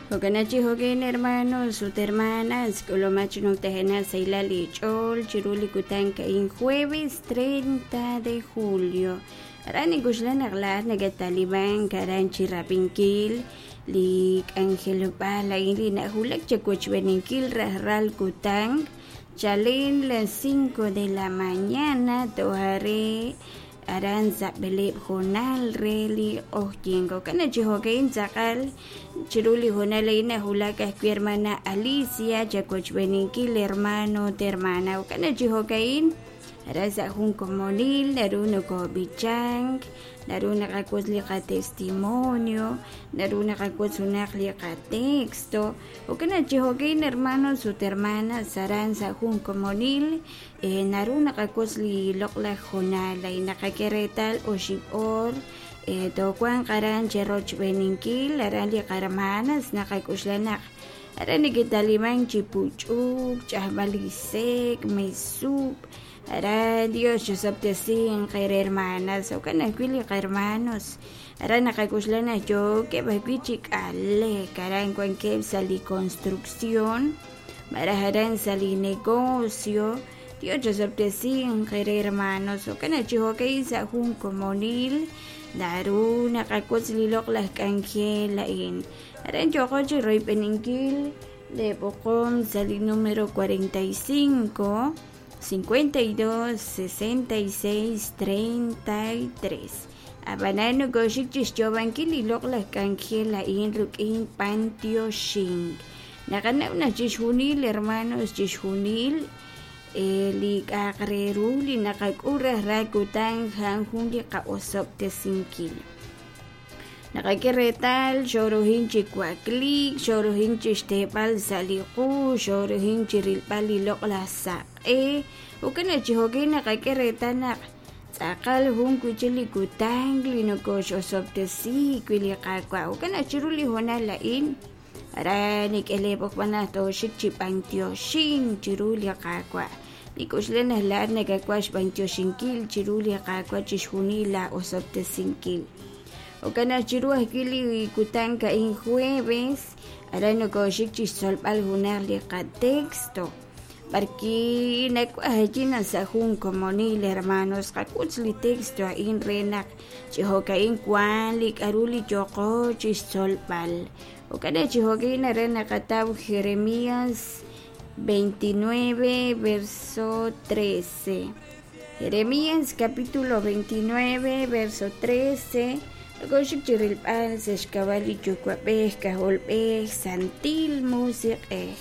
Jo'kan chi jo'kan hermanos ut hermanas k'ulumak chi numtajenaq sahilal li ch'ool chiru li kutan a'in jueves 30 de julio. Aran nink'oxla naq laa'at nakattalibank aran chi rab'inkil li k'anjelob'aal a'in li nawulak chawochb'eninkil rajlal kutan chalen las 5 de la mañana toj re aran sa' b'eleeb' hoonal re li q'oqyink. Jo'kan chi jo'kan tz'aqal chiru li hoonal a'in nawulak ajwi' hermana Alicia chawochb'eninkil hermano ut hermana. Jo'kan chi jo'kan aran sa' jun komonil naru nokob'ichank, naru naqawotz li qatestimonio, naru naqawotz junaq li qatexto. Jo'kan chi jo'kan hermanos ut hermanas aran sa' jun komonil naru naqawotz li loq'laj hoonal a'in naqak'e reetal oxib' oor toowanq aran cherochb'eninkil aran li qarmanas naqak'oxla naq aran neke'talimank chi puch'uk, ch'ajb'al li sek', mesub', aran Dios chisob'tesinq eere hermanas, jo'kan ajwi' li qarmanos aran naqak'oxla naq yookeb' ajwi' chi k'alek aran wankeb' sa' li construcción malaj aran sa' li negocio. Dios chisob'tesinq eere hermanos, jo'kan chi jo'kan sa' jun komonil naru naqawotz li loq'laj k'anjel a'in. Aran yooqo chi royb'eninkil leeb'oqom sa' li número 45 52 66 33. Ab'anan nokoxik chi xyoob'ankil li loq'laj k'anjel a'in rik'in b'antioxink. Naqanaw naq chixjunil hermanos chixjunil li k'a'aq re ru li naqak'ul rajlal kutan a'an jun li qa'osob'tesinkil. Naqak'e reetal xoorujin chi wakliik, xoorujin chi xteeb'al sa' li qu, xoorujin chi rilb'al li loq'laj saq'e. Jo'kan chi jo'kan naqak'e reetal naq tz'aqal jun wi' chik li kutan li nokox'osob'tesi wi' li Qaawa'. Jo'kan naq chiru li hoonal a'in aran nik'eleeb'oqb'al naq tooxik chi b'antioxink chiru li Qaawa'. Nik'oxla naq laa'at nakawaj xb'antioxinkil chiru li Qaawa' chixjunil laa'osob'tesinkil. Jo'kan naq chiru ajwi' li kutan a'in jueves aran nokoxik chi xtzolb'al junaq li qatexto b'arwi' nawaj naq sa' jun komonil hermanos qawotz li texto a'in re naq chi jo'ka'in wank li k'aru li yooqo chi xtzolb'al. Jo'kan naq chi jo'kan aran naqataw Jeremías 29 verso 13. Jeremías capítulo 29 verso 13. Nokoxik chi rilb'al sa' xk'ab'a' li Yuwa'b'ej, K'ajolb'ej, Santil Musiq'ej.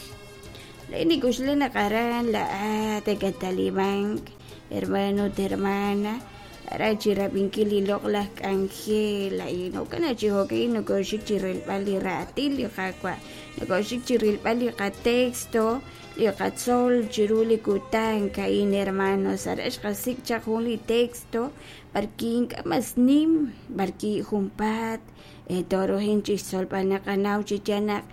Laa'in nik'oxla naq aran laa'at nakattalibank, hermano ut hermana, aran chi rab'inkil li loq'laj k'anjel a'in. Jo'kan naq chi jo'kan nokoxik chi rilb'al li raatin li Qaawa', nokoxik chi rilb'al li qatexto, li qatzol chiru li kutan a'in, hermanos. Aran xqasik' chaq jun li texto b'arwi' ink'a' mas nim, b'arwi' junpaat toorujin chi xtzolb'al. Naqanaw chi yaal naq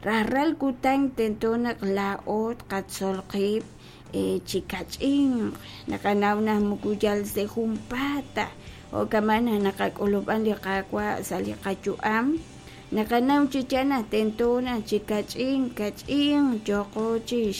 rajlal kutan tento naq laa'o tqatzol qib' chi kach'inq. Naqanaw naq moko yal sa' junpaat ta, jo'kan naq naqak'ulub'an li Qaawa' sa' li qayu'am. Naqanaw chi yaal naq tento naq chi kach'in kach'inq yooqo chi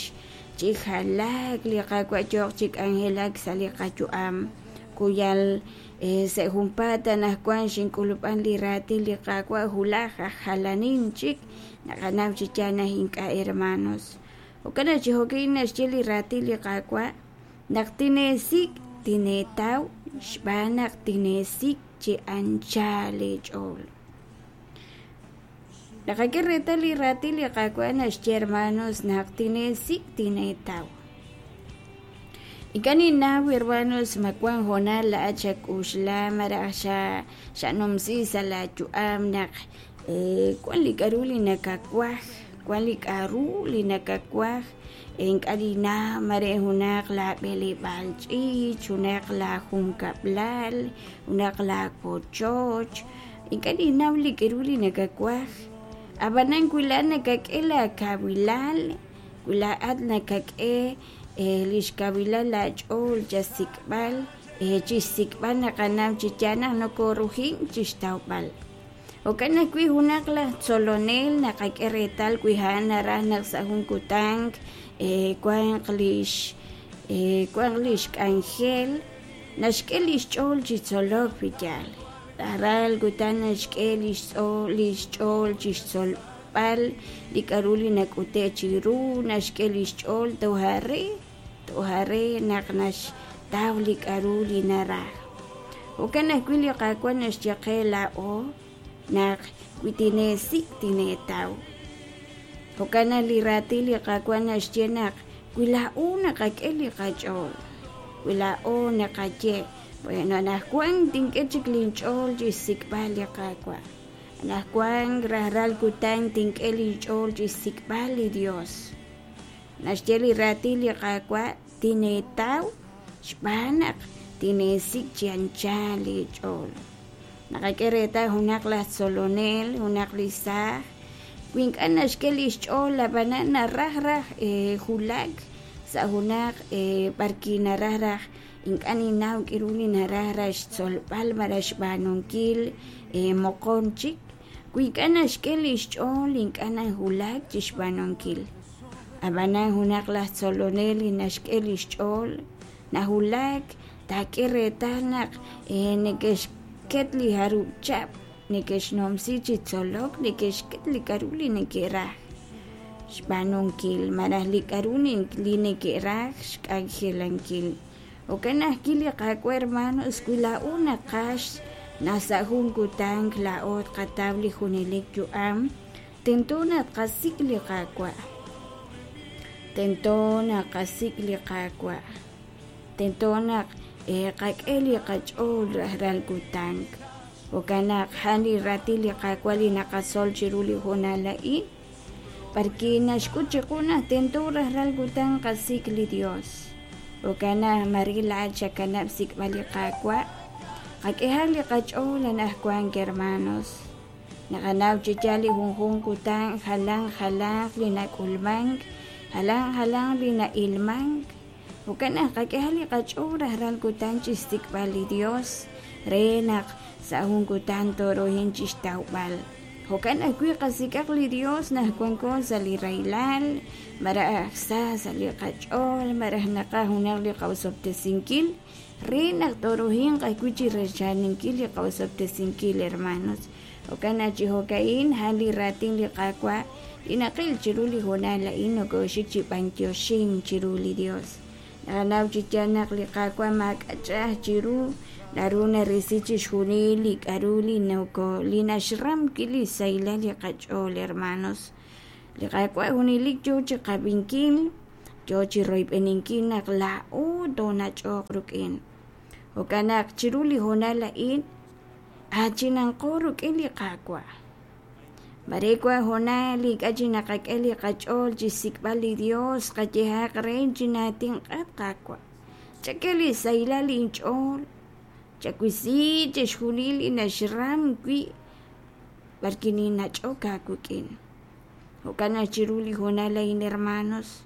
jalaak li Qaawa' yooq chi k'anjelak sa' li qayu'am. Ku yal sa' junpaat anaqwan xink'ulub'an li raatin li Qaawa' wulaj aj jalanin chik. Naqanaw chi yaal naq ink'a' hermanos. Jo'kan naq chi jo'kan naxye li raatin li Qaawa' naq tineesik' tineetaw xb'aan naq tineesik' chi anchal eech'ool. Naqak'e reetal li raatin li Qaawa' naxye hermanos naq tineesik' tineetaw. Ink'a' ninnaw hermanos ma wank hoonal laa'at xak'oxla malaj xanumsi sa' laayu'am naq wank li k'aru li nakawaj, wank li k'aru li nakawaj ink'a' ninnaw mare junaq laab'eleb'aal ch'iich', junaq laajunkab'lal, junaq laawochoch. Ink'a' ninnaw li k'aru li nakawaj, ab'anan wi laa'at nakak'e laakawilal, wi laa'at nakak'e li xkawilal laach'ool chasik'b'al, chi xsik'b'al naqanaw chi yaal naq nokorujink chi xtawb'al. Jo'kan ajwi' junaq laj tzolonel naqak'e reetal wi a'an naraj naq sa' jun kutan wanq lix wanq lix k'anjel naxk'e li xch'ool chi tzolok wi yaal. Rajlal kutan naxk'e lix lix ch'ool chi xtzolb'al li k'a'ru li nak'ute' chiru, naxk'e li xch'ool toja' re toja' re naq naxtaw li k'a'ru li naraj. Jo'kan ajwi' li Qaawa' naxye qe laa'o naq wi tineesik' tineetaw. Jo'kan naq li raatin li Qaawa' naxye naq wi laa'o naqak'e li qach'ool, wi laa'o naqaye, bueno, anaqwan tink'e chik linch'ool chi xsik'b'al li Qaawa'. Anaqwan rajlal kutan tink'e linch'ool chi xsik'b'al li Dios. Naxye li raatin li Qaawa', tineetaw xb'aan naq tineesik' chi anchal leech'ool. Naqak'e reetal junaq laj tzolonel, junaq li saaj, wi ink'a' naxk'e li xch'ool ab'anan naraj raj wulak sa' junaq b'arwi' naraj raj ink'a' ninnaw k'aru li naraj raj xtzolb'al malaj xb'aanunkil moqon chik, wi ink'a' naxk'e li xch'ool ink'a' nawulak chi xb'aanunkil. Ab'anan junaq laj tzolonel li naxk'e li xch'ool nawulak taak'e reetal naq neke'xket li jarub' chihab' neke'xnumsi chi tzolok, neke'xket li k'a'ru li neke'raj xb'aanunkil malaj li k'a'ru li neke'raj xk'anjelankil. Jo'kan ajwi' li Qaawa' hermanos, wi laa'o naqaj naq sa' jun kutan laa'o tqataw li junelik yu'am, tento naq tqasik' li Qaawa'. Tento naq tqasik' li Qaawa'. Tento naq qak'e li qach'ool rajlal kutan. Jo'kan naq a'an li raatin li Qaawa' li naqatzol chiru li hoonal a'in, b'arwi' naxk'ut chiqu naq tento rajlal kutan qasik' li Dios. Jo'kan naq mare laa'at xakanab' xsik'b'al li Qaawa', qak'ehaq li qach'ool anaqwan hermanos. Naqanaw chi yaal li junjunq kutan jalan jalanq li nak'ulmank, jalan jalanq li na'ilmank. Jo'kan naq qak'ehaq li qach'ool rajlal kutan chi xsik'b'al li Dios re naq sa' jun kutan tooruhin chi xtawb'al. Jo'kan ajwi' qasik'aq li Dios naq wanko sa' li rahilal, malaj sa sa' li qach'ool, malaj naqaj junaq li qaosob'tesinkil re naq tooruhinq ajwi' chi rechaninkil li qaosob'tesinkil, hermanos. Jo'kan naq chi jo'ka'in a'an li raatin li Qaawa' li naqil chiru li hoonal a'in nokooxik chi b'anyoxink chiru li Dios. Naqanaw chi yaal naq li Qaawa' maak'a' ch'a'aj chiru, naru narisi chixjunil li k'a'ru li noko li naxram wi' li xsahilal li qach'ool, hermanos. Li Qaawa' junelik yoo chi qab'inkil, yoo chi royb'eninkil naq laa'o toonach'oq rik'in. Jo'kan naq chiru li hoonal a'in aachinanqo rik'in li Qaawa'. Mare wank hoonal ink'a' chi naqak'e li qach'ool chi xsik'b'al li Dios, qayehaq re chinaatinq'at Qaawa'. Chak'e li xsahilal inch'ool, chawisi chixjunil li naxram wi' b'arwi' ninnach'ok aawik'in. Jo'kan naq chiru li hoonal a'in hermanos,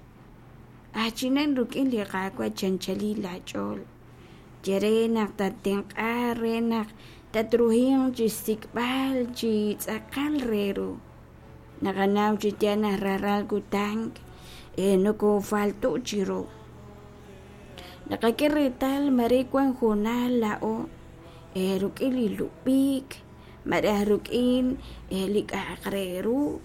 aachinan rik'in li Qaawa' chanchalil laach'ool. Ye re naq tattenq'a re naq tatruhinq chi xsik'b'al chi tz'aqal re ru. Naqanaw chi yaal naq rajlal kutan nokoofalto' chiru. Naqak'e reetal mare wank hoonal laa'o rik'in li lub'ik malaj rik'in li k'a'aq re ru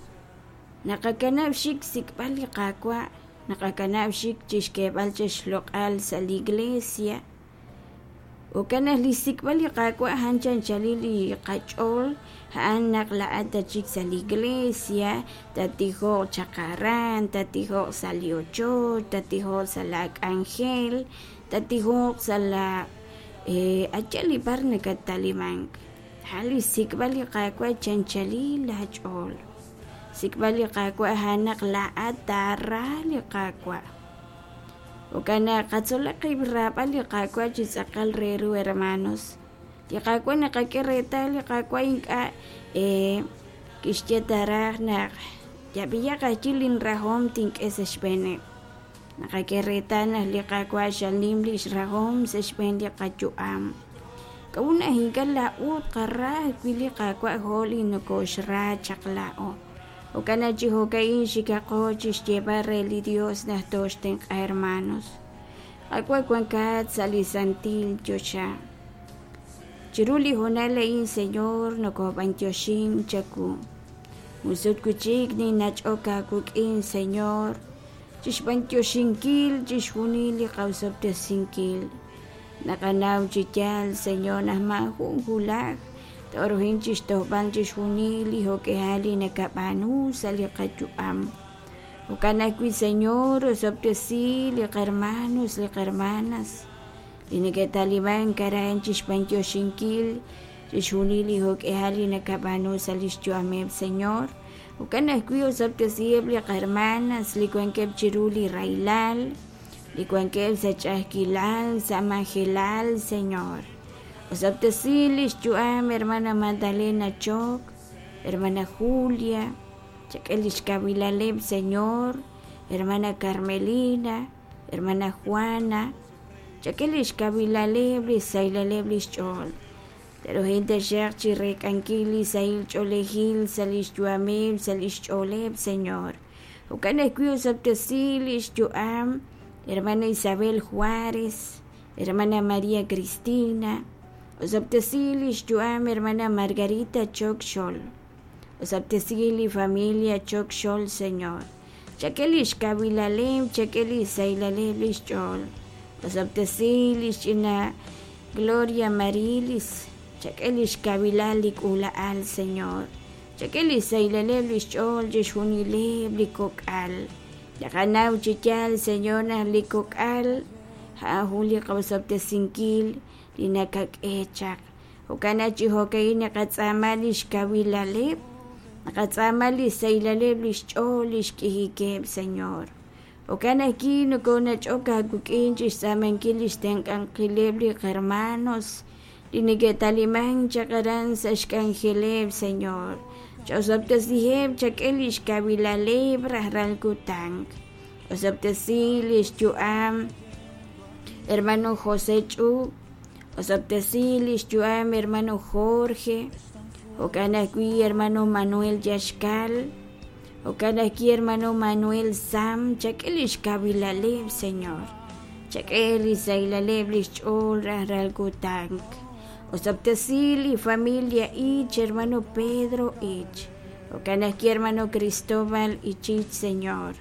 naqakanab' xik xsik'b'al li Qaawa', naqakanab' xik chi xk'eeb'al chi xloq'al sa' li iglesia. Jo'kan naq li xsik'b'al li Qaawa' a'an chanchalil li qach'ool, a'an naq laa'at tatxik sa' li iglesia, tattijoq chaq aran, tattijoq sa' li ochoch, tattijoq sa' laak'anjel, tattijoq sa' la a' yaal li b'ar nakattalimank. A'an li xsik'b'al li Qaawa' chanchalil laach'ool. Xsik'b'al li Qaawa' a'an naq laa'at taara li Qaawa'. Jo'kan naq qatzolaq qib' raab'al li Qaawa' chi tz'aqal re ru hermanos. Li Qaawa' naqak'e reetal li Qaawa' ink'a' kixye ta raj naq yab'iyaq ajwi' linrahom tink'e sa' xb'eeneb'. Naqak'e reetal naq li Qaawa' xal nim li xrahom sa' xb'een li qayu'am. K'a'ut naq ink'a' laa'o tqara ajwi' li Qaawa' jo' li nokooxra chaq laa'o? Jo'kan naq chi jo'ka'in xikaqo chi xyeeb'al re li Dios naq tooxtenq'a, hermanos. Qaawa' wankat sa' li santil choxa. Chiru li hoonal a'in, Señor, nokob'antioxin chawu. Jun sut wi' chik ninnach'ok aawik'in, Señor, chixb'antioxinkil chixjunil li qaosob'tesinkil. Naqanaw chi yaal, Señor, naq maajun wulaj tooruhin chixtojb'al chixjunil li jo'k'ihal li nakab'aanu sa' li qayu'am. Jo'kan ajwi', Señor, osob'tesi li qahermanos, li qahermanas li neke'talimank aran chixb'antioxinkil chixjunil li jo'k'ihal li nakab'aanu sa' lix yu'ameb', Señor. Jo'kan ajwi' osob'tesiheb' li qahermanas li wankeb' chiru li rahilal, li wankeb' sa' ch'a'ajkilal, sa' majelal, Señor. Osob'tesi lix yu'am hermana Magdalena Choc, hermana Julia, chak'e lix kawilaleb', Señor, hermana Carmelina, hermana Juana, chak'e lix kawilaleb', lix sahilaleb' lix ch'ool. Te'ruhin taxaq chireek'ankil li sahil ch'oolejil sa' lix yu'ameb', sa' lix ch'ooleb', Señor. Jo'kan ajwi' osob'tesi lix yu'am hermana Isabel Juárez, hermana María Cristina, osob'tesi lix yu'am hermana Margarita Choc Xol, osob'tesi li familia Choc Xol, Señor. Chak'e lix kawilaleb', chak'e lix sahilaleb' lix ch'ool. Osob'tesi lix ch'ina Gloria Marilis, chak'e lix kawilal li k'uula'al, Señor. Chak'e lix sahilaleb' lix ch'ool chixjunileb' li kok'al. Naqanaw chi yaal, Señor, naq li kok'al a'an jun li qaosob'tesinkil li nakak'e chaq. Jo'kan naq chi jo'ka'in naqatz'aama lix kawilaleb', naqatz'aama lix sahilaleb' lix ch'ool, lix k'ijikeb', Señor. Jo'kan ajwi' nokonach'ok aawik'in chixtz'aamankil lix tenq'ankileb' li qahermanos li neke'talimank chaq aran sa' xk'anjeleb', Señor. Ch'osob'tesiheb', chak'e lix kawilaleb' rajlal kutan. Osob'tesi lix yu'am hermano José Ch'u, osob'tesi lix yu'am hermano Jorge, jo'kan ajwi' hermano Manuel Yaxcal, Jo'kan ajwi' hermano Manuel Sam, chak'e lix kawilaleb', Señor. Chak'e li sahilaleb' lix ch'ool rajlal kutan. Osob'tesi li familia Ich, hermano Pedro Ich. Jo'kan ajwi' hermano Cristóbal Ichich, Señor.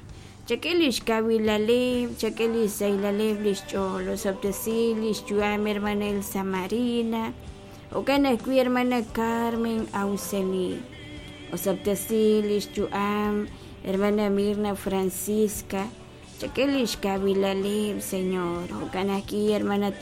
Chak'e lix kawilaleb', chak'e li sahilaleb' lix ch'ool. Osob'tesi lix yu'am hermana Elsa Marina. Jo'kan ajwi' hermana Carmen Auxeli. Osob'tesi lix yu'am hermana Mirna Francisca. Chak'e lix kawilaleb', Señor. Jo'kan ajwi' hermana.